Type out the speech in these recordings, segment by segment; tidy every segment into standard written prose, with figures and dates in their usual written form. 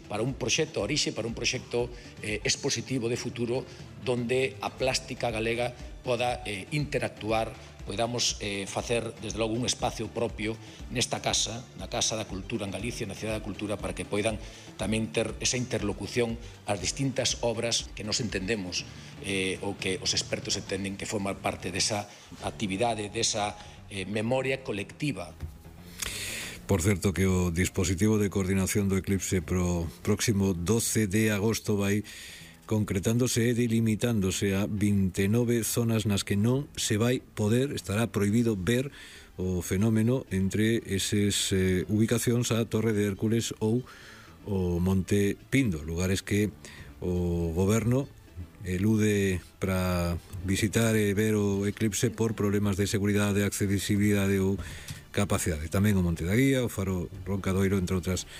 Para un proxecto expositivo de futuro donde a plástica galega poda interactuar, podamos facer desde logo un espacio propio nesta casa, na Casa da Cultura en Galicia, na Cidade da Cultura, para que poidan tamén ter esa interlocución ás distintas obras que nos entendemos ou que os expertos entenden que forman parte desa actividade, desa memoria colectiva. Por certo que o dispositivo de coordinación do eclipse pro próximo 12 de agosto vai concretándose e delimitándose a 29 zonas nas que non se vai poder, estará prohibido ver o fenómeno entre eses ubicacións a Torre de Hércules ou o Monte Pindo, lugares que o goberno elude para visitar e ver o eclipse por problemas de seguridade, accesibilidade ou capacidade. Tamén o Monte da Guía, o Faro Roncadoiro, entre outras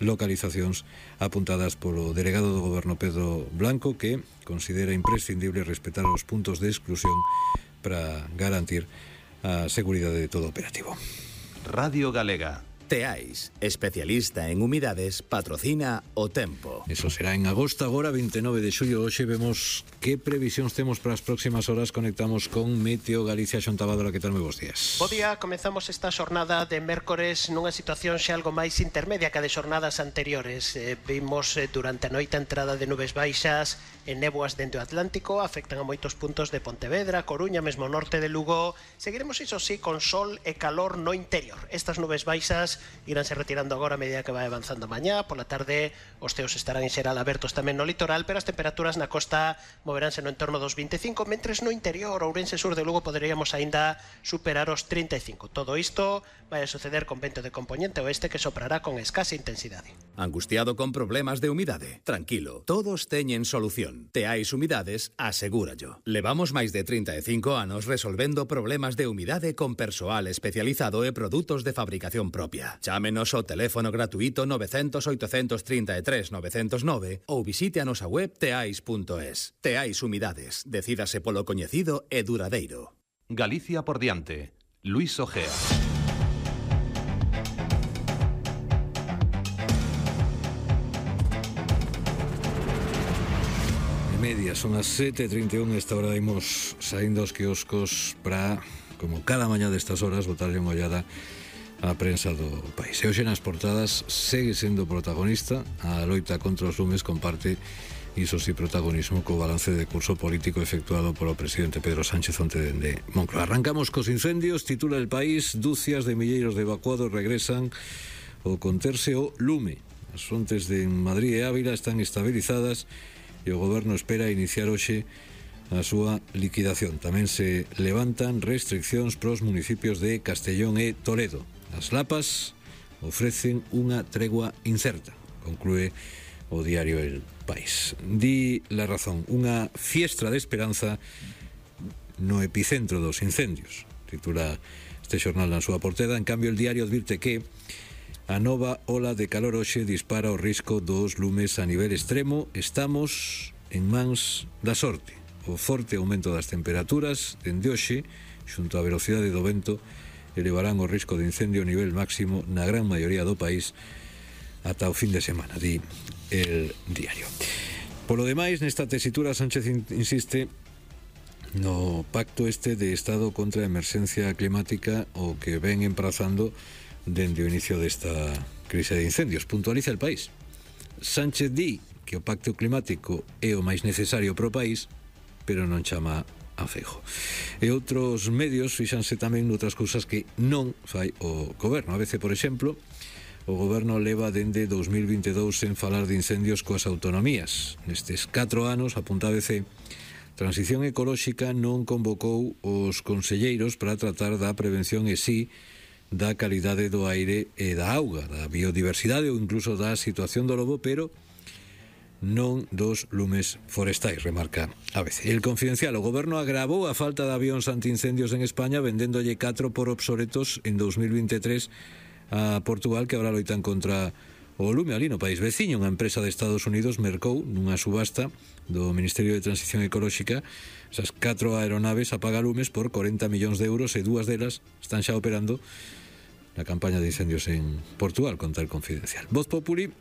localizacións apuntadas polo delegado do goberno Pedro Blanco, que considera imprescindible respetar os puntos de exclusión para garantir a seguridade de todo o operativo. Radio Galega. Teais, especialista en humidades, patrocina O Tempo. Eso será en agosto, agora 29 de xullo. Hoxe vemos que previsións temos para as próximas horas. Conectamos con Meteo Galicia. Xontabádora, que tal? Moi bons días. Bo día, comezamos esta xornada de mércores nunha situación xa algo máis intermedia que a de xornadas anteriores. Vimos durante a noite a entrada de nubes baixas e néboas dende o Atlántico, afectan a moitos puntos de Pontevedra, Coruña, mesmo norte de Lugo. Seguiremos, iso sí, con sol e calor no interior. Estas nubes baixas iránse retirando agora a medida que vai avanzando mañá. Pola tarde os ceos estarán en xeral abertos tamén no litoral, pero as temperaturas na costa moveránse no entorno dos 25, mentres no interior, Ourense, sur de Lugo, poderíamos aínda superar os 35. Todo isto vai a suceder con vento de componente oeste que soprará con escasa intensidade. Angustiado con problemas de humidade? Tranquilo, todos teñen solución. Teais Humidades, asegúrallo. Levamos máis de 35 anos resolvendo problemas de humidade con persoal especializado e produtos de fabricación propia. Chámenos ao teléfono gratuito 900 833 909 ou visite a nosa web teais.es. Teais Humidades, decídase polo coñecido e duradeiro. Galicia por diante. Luis Ojea. Media, son as 7:31. Esta hora imos saindo aos quioscos para, como cada mañá destas horas, botarlle unha ollada a prensa do país. E hoxe nas portadas segue sendo protagonista a loita contra os lumes, comparte iso si protagonismo co balance de curso político efectuado polo presidente Pedro Sánchez onte dende Moncloa. Arrancamos cos incendios. Titula El País: dúcias de milleiros de evacuados regresan ao conterse o lume. As fontes de Madrid e Ávila están estabilizadas e o goberno espera iniciar hoxe a súa liquidación. Tamén se levantan restriccións pros municipios de Castellón e Toledo. As lapas ofrecen unha tregua incerta, conclúe o diario El País. Di La Razón: unha fiestra de esperanza no epicentro dos incendios, titula este xornal na súa portada. En cambio, el diario advirte que a nova ola de calor hoxe dispara o risco dos lumes a nivel extremo. Estamos en mans da sorte. O forte aumento das temperaturas dende hoxe, xunto á velocidade do vento, elevarán o risco de incendio a nivel máximo na gran maioría do país ata o fin de semana, di el diario. Polo demais, nesta tesitura, Sánchez insiste no pacto este de Estado contra a emerxencia climática, o que ven emprazando dende o inicio desta crise de incendios. Puntualiza El País: Sánchez di que o pacto climático é o máis necesario para o país, pero non chama a Feijóo. E outros medios fixanse tamén noutras cousas que non fai o goberno. A veces, por exemplo, o goberno leva dende 2022 sen falar de incendios coas autonomías. Nestes 4 anos, apunta ABC, Transición Ecolóxica non convocou os conselleiros para tratar da prevención e si da calidade do aire e da auga, da biodiversidade ou incluso da situación do lobo, pero non dos lumes forestais, remarca a veces. El Confidencial: o goberno agravou a falta de avións antiincendios en España vendéndolle 4 por obsoletos en 2023 a Portugal, que ahora loitan contra o lume. Ali no país veciño, unha empresa de Estados Unidos mercou nunha subasta do Ministerio de Transición Ecolóxica esas 4 aeronaves apagalumes por 40 millóns de euros, e 2 delas están xa operando na campaña de incendios en Portugal, conta El Confidencial. Voz Populi